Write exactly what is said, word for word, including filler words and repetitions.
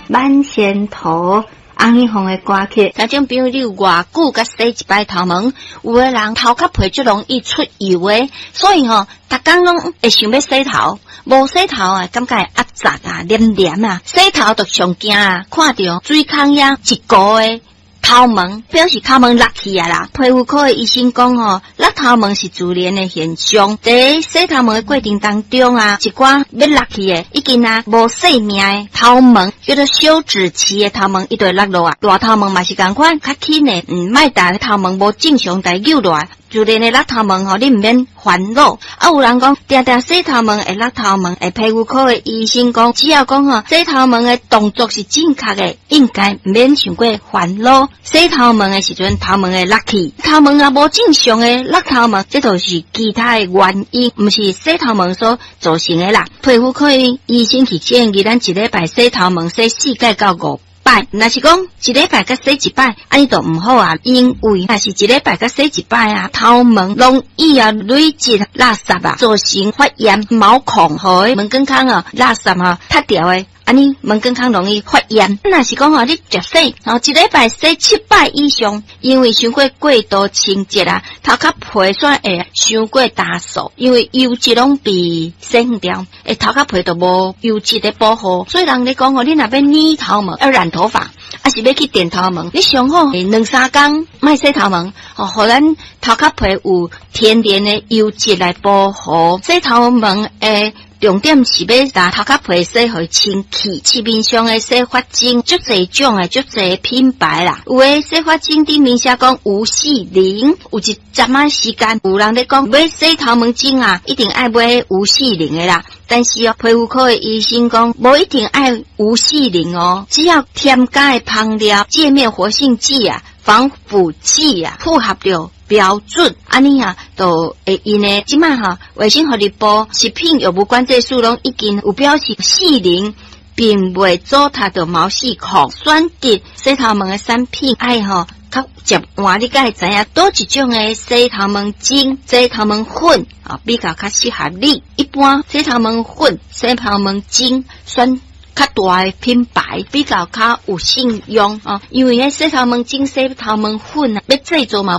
滿仙圖洪一鳳的歌曲。聽眾朋友，你有偌久才洗一擺頭毛？有的人頭殼皮足容易出油的，所以吼，逐工攏會想欲洗頭，無洗頭啊，感覺會壓雜啊、黏黏啊。洗頭就上驚啊，看著水空遐一糊的頭毛，表示頭毛落去啊啦。皮膚科的醫生講吼，落頭毛是自然的現象。佇洗頭毛的過程當中啊，一寡欲落去的，已經啊無細命的頭毛，叫做休止期的頭毛，伊就會落落啊。大頭毛嘛是仝款，較輕的，嗯，莫共頭毛無正常共扭落來。自然的落頭毛吼，你毋免煩惱。啊，有人講定定洗頭毛會落頭毛，會皮膚科的醫生講，只要講吼洗頭毛的動作是正確的，應該毋免傷過煩惱。洗頭毛的時陣，頭毛會落去，頭毛也無正常的落頭毛，這都是其他的原因，毋是洗頭毛所造成的啦。皮膚科醫生去建議咱一禮拜洗頭毛洗四擺到五擺，若是講一禮拜才洗一擺，按呢就毋好啊，因為若是一禮拜才洗一擺啊，頭毛容易啊累積垃圾啊，造成發炎毛孔，予毛管孔啊垃圾啊塞牢的。按呢毛管孔容易發炎。若是講吼，你食洗，吼一禮拜洗七擺以上，因為傷過過度清潔啊，頭殼皮煞會傷過焦燥，因為油脂攏被洗掉，欸頭殼皮就無油脂的保護。所以人咧講吼，你若欲染頭毛，欲染頭髮，抑是欲去電頭毛，你上好兩三工莫洗頭毛，吼，予咱頭殼皮有天然的油脂來保護。洗頭毛的重點是欲共頭殼皮洗予清氣。市面上的洗髮精足濟種的，足濟品牌啦。有的洗髮精頂面寫講無矽靈，有一陣仔時間有人咧講買洗頭毛精啊，一定愛買無矽靈的啦。但是哦，皮膚科的醫生講，無一定愛無矽靈哦，只要添加的香料、界面活性劑啊、防腐劑啊，符合著標準，按呢啊，就會用的。這擺吼，衛生福利部食品藥物管制署攏已經有表示，矽靈並袂阻塞著毛細孔。選擇洗頭毛的產品，愛吼較捷換，你才會知影佗一種的洗頭毛精、洗頭毛粉啊，比較較適合你。一般洗頭毛粉、洗頭毛精選較大的品牌比較較有信用哦，因為彼洗頭毛精、洗頭毛粉啊，欲製作嘛。